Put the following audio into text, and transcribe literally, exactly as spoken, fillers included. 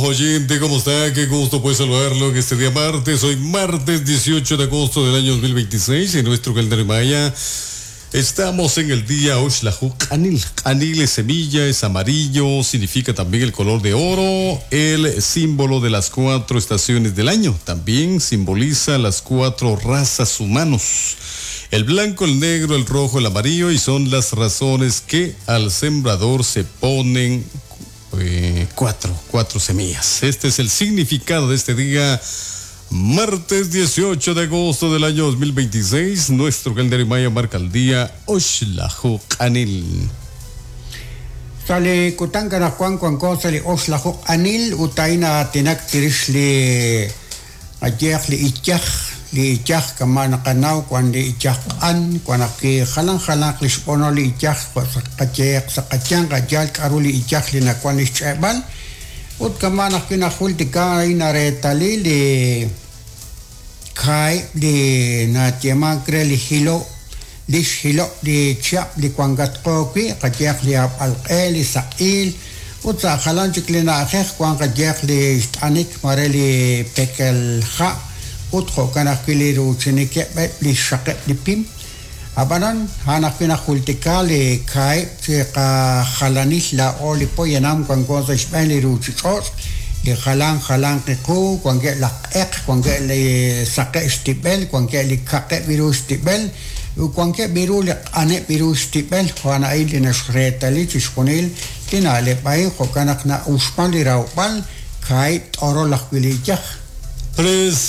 Oyente, ¿cómo está? Qué gusto pues saludarlo en este día martes. Hoy martes dieciocho de agosto del año dos mil veintiséis en nuestro calendario maya. Estamos en el día Oxlajuj Q'anil. Q'anil es semilla, es amarillo, significa también el color de oro, el símbolo de las cuatro estaciones del año. También simboliza las cuatro razas humanos. El blanco, el negro, el rojo, el amarillo, y son las razones que al sembrador se ponen eh, cuatro, cuatro semillas. Este es el significado de este día, martes dieciocho de agosto del año dos mil veintiséis. Nuestro calendario maya marca el día Oxlajuj Q'anil. Sale kutanka Juan Juan sale Oxlajuj Q'anil utaina tinak tirishli ayeq li ichaj li ichaj kamana qanaw cuando ichaj an cuando que jalan jalan lishpono li ichaj qacheq saqachan qachal k'aru li ichaj li nakuan ixch'eb'al ut kamana kina jultika ina retali li kai li natieman kre li hilo li hilo li chap li kuangatqoki qacheq li ab'alq'e li saq'il ut sa jalan chik li na'ajej kuan qacheq li xt'anik mare li pekel ja' ut jo'kan ajwi' li ruuchinikeb' li xaqeb' li pim ab'anan han ajwi' najultika li kaib' chi qajalanil la'o li poyanam wanko sa' xb'een li ruuchich'och' li jalan jalan qiqu wankeb' laj q'eq wankeb' li saqeb' xtib'el wankeb' li kaqeb' ru xtib'el wankeb' ru li q'aneb' ru xtib'el jo'an a'in li naxreetali chixjunil li na'leb' a'in jo'kan naq na'uxman li rawb'al kaib' t'orol ajwi' li iyaj. Tres.